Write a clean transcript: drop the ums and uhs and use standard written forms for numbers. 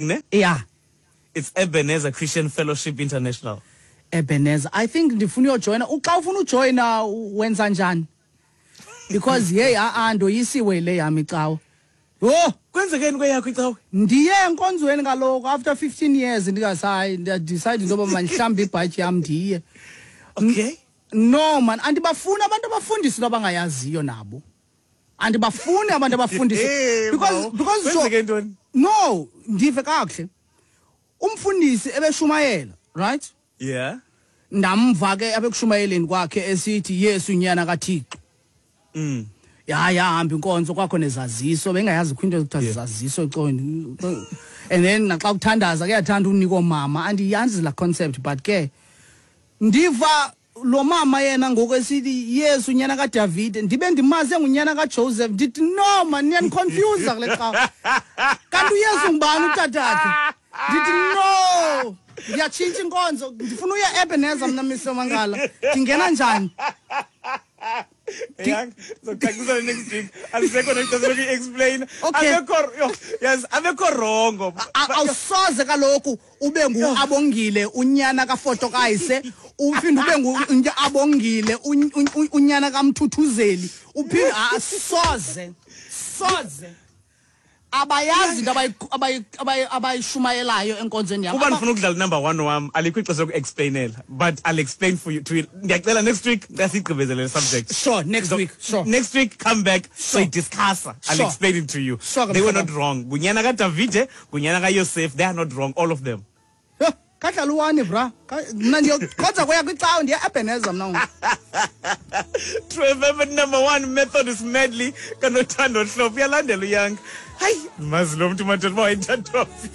Ne? Yeah. It's Ebenezer Christian Fellowship International. Ebenezer. I think ndifuna uyojoyina. Xa ufuna ujoyina wenza njani? Because hey a ndoyisiwe le yami icawa. Yho, kwenzekeni kweyakho icawa? Ndiye enkonzweni kaloku after 15 years ndingasayi, ndiyadecide into yoba mandihlambe ibhatyi yam ndiye. Okay. No man, andibafuni abantu abafundisa into abangayaziyo nabo. Andibafuni abantu abafundisa because so, Kwenzeke ntoni? No, ndive kakuhle. Umfundisi ebeshumayela, right? Yeah. Ndamva ke abekushumayeleni kwakhe esithi Yesu unyana kaThixo. Ya yahamba inkonzo kwakho nezaziso, bengayazi kwinto ekuthiwa zizaziso ecaweni. And then naxa kuthandaza kuyathanda unika mama, andiyazi la concept, but ke ndiva lo mama yena ngoku esithi Yesu unyana kaDavid, ndibe ndimaze ngunyana kaJoseph, ndithi no man, niyaniconfuse kule cawa. Kanti uYesu ngubani utatakhe? Ndithi no, ndiyatshintsha inkonzo, ndifuna uya Ebenezer mna Mr Mangala. Ndingena njani? Yang, zokucacisela next week. Alisekho nexesha lokuyi-explain. Okay. Abekho, yo, yes, abekho wrongo. Awusoze kaloku ube ngu-Abongile unyana kaFotokayise, uphinde ube ngu-Abongile unyana kaMthuthuzeli, uphinde soze, soze. Abayazi into abayishumayelayo enkonzweni yam. Kuba ndifuna ukudlala number 1 wam, alikho ixesha loku-explainela, but I'll explain for you to you. Ndiyacela next week xa siyigqibezele le subject. Sure, next week, sure. Next week come back, Sure. so discuss. I'll Sure. explain it to you. Sure, They were Mhlobo. not wrong. Ngunyana kaDavide, ngunyana kaYosef, they are not wrong, all of them. Yho, kadlala uwani bra. Mna ndiyokhonza kuya kwicawa, ndiya Ebenezer mna ngoku. True FM number 1 Methodist Medley kaNothando Hlophe, uyalandela uYanga. Hayi, mazi lo mntu madoda uba wayethathwa phi.